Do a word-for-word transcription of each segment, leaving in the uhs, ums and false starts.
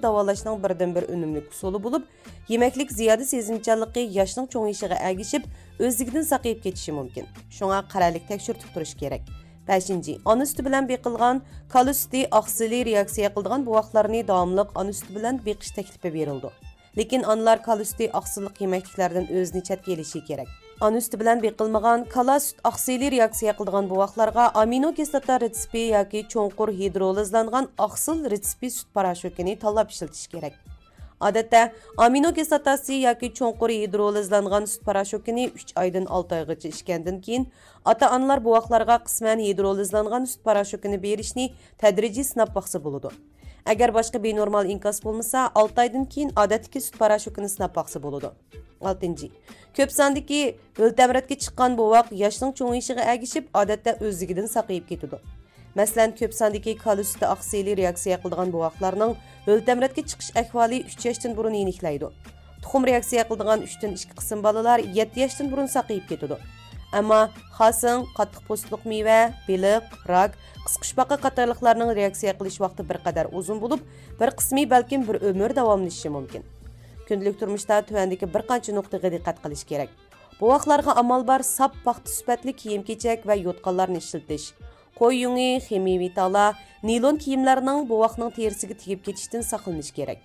داۋالاشنىڭ بىردىنبىر ئۈنۈملۈك ئۇسۇلى بولۇپ، يېمەكلىك زىيادە سېزىمچانلىقى ياشنىڭ چوڭىيىشىغا ئەگىشىپ، ئۆزلۈكىدىن ساقىيىپ كېتىشى مۇمكىن. شۇڭا قەرەللىك تەكشۈرتۈپ تۇرۇش كېرەك. بەشىنچى، ئانا سۈتى بىلەن بېقىلغان، كالا سۈتى ئاقسىلى رېئاكسىيە قىلىدىغان بوۋاقلارنى داۋاملىق ئانا سۈتى بىلەن بېقىش تەكلىپى بېرىلىدۇ. لېكىن ئانىلار كالا سۈتى ئاقسىللىق يېمەكلىكلەردىن ئۆزىنى چەتكە ئېلىشى كېرەك. ئانا سۈتى بىلەن بېقىلمىغان، كالا سۈت ئاقسىلى رېئاكسىيە قىلىدىغان بوۋاقلارغا ئامىنو كىسلاتا رېتسېپى ياكى چوڭقۇر ھىدرولىزلانغان ئاقسىل رېتسېپى سۈت پاراشوكىنى تاللاپ ئىشلىتىش كېرەك. ئادەتتە، ئامىنو كىسلاتاسى ياكى چوڭقۇر ھىدرولىزلانغان سۈت پاراشوكىنى ئۈچ ئايدىن ئالتە ئايغىچە ئىچكەندىن كېيىن، ئاتا-ئانىلار بوۋاقلارغا قىسمەن ھىدرولىزلانغان سۈت پاراشوكىنى بېرىشنى تەدرىجىي سىناپ باقسا بولىدۇ. ئەگەر باشقا بىنورمال ئىنكاس بولمىسا، ئالتە ئايدىن كېيىن ئادەتتىكى سۈت پاراشوكىنى سىناپ باقسا بولىدۇ. ئالتىنچى، كۆپ ساندىكى ھۆل تەمرەتكە چىققان بوۋاق ياشنىڭ چوڭىيىشىغا ئەگىشىپ، ئادەتتە ئۆزلۈكىدىن ساقىيىپ كېتىدۇ. مەسىلەن، كۆپ ساندىكى كالا سۈتى ئاقسىلى رېئاكسىيە قىلىدىغان بوۋاقلارنىڭ ھۆل تەمرەتكە چىقىش ئەھۋالى ئۈچ ياشتىن بۇرۇن يېنىكلەيدۇ. تۇخۇم رېئاكسىيە قىلىدىغان ئۈچتىن ئىككى قىسىم بالىلار يەتتە ياشتىن بۇرۇن ساقىيىپ كېتىدۇ. ئەمما خاسىڭ، قاتتىق پوستلۇق مېۋە، بېلىق، راك، قىسقۇچپاقا قاتارلىقلارنىڭ رېئاكسىيە قىلىش ۋاقتى بىر قەدەر ئۇزۇن بولۇپ، بىر قىسمى بەلكىم بىر ئۆمۈر داۋاملىشىشى مۇمكىن. كۈندىلىك تۇرمۇشتا تۆۋەندىكى بىر قانچە نۇقتىغا دىققەت قىلىش كېرەك. بوۋاقلارغا ئامال بار ساپ پاختا سۈپەتلىك كىيىم-كېچەك ۋە يوتقانلارنى ئىشلىتىش. قوي يۇڭى، خىمىيەۋى تالا، نىلون كىيىملەرنىڭ بوۋاقنىڭ تېرىسىگە تېگىپ كېتىشتىن ساقلىنىش كېرەك.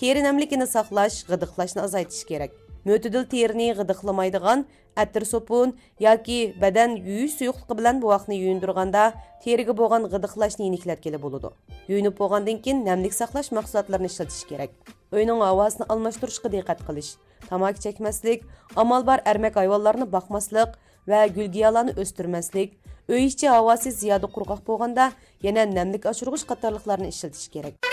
تېرە نەملىكىنى ساقلاش، غىدىقلاشنى ئازايتىش كېرەك. مۆتىدىل تېرىنى غىدىقلىمايدىغان ئەتىر سوپۇن ياكى بەدەن يۇيۇش سۇيۇقلۇقى بىلەن بوۋاقنى يۇيۇندۇرغاندا، تېرىگە بولغان غىدىقلاشنى يېنىكلەتكىلى بولىدۇ. يۇيۇنۇپ بولغاندىن كېيىن نەملىك ساقلاش مەھسۇلاتلىرىنى ئىشلىتىش كېرەك. ئۆينىڭ ھاۋاسىنى ئالماشتۇرۇشقا دىققەت قىلىش. تاماكا چەكمەسلىك، ئامال بار ئەرمەك ھايۋانلارنى باقماسلىق ۋە گۈلگىيالارنى ئۆستۈرمەسلىك، ئۆي ئىچى ھاۋاسى زىيادە قۇرغاق بولغاندا، يەنە نەملىك ئاشۇرغۇچ قاتارلىقلارنى ئىشلىتىش كېرەك.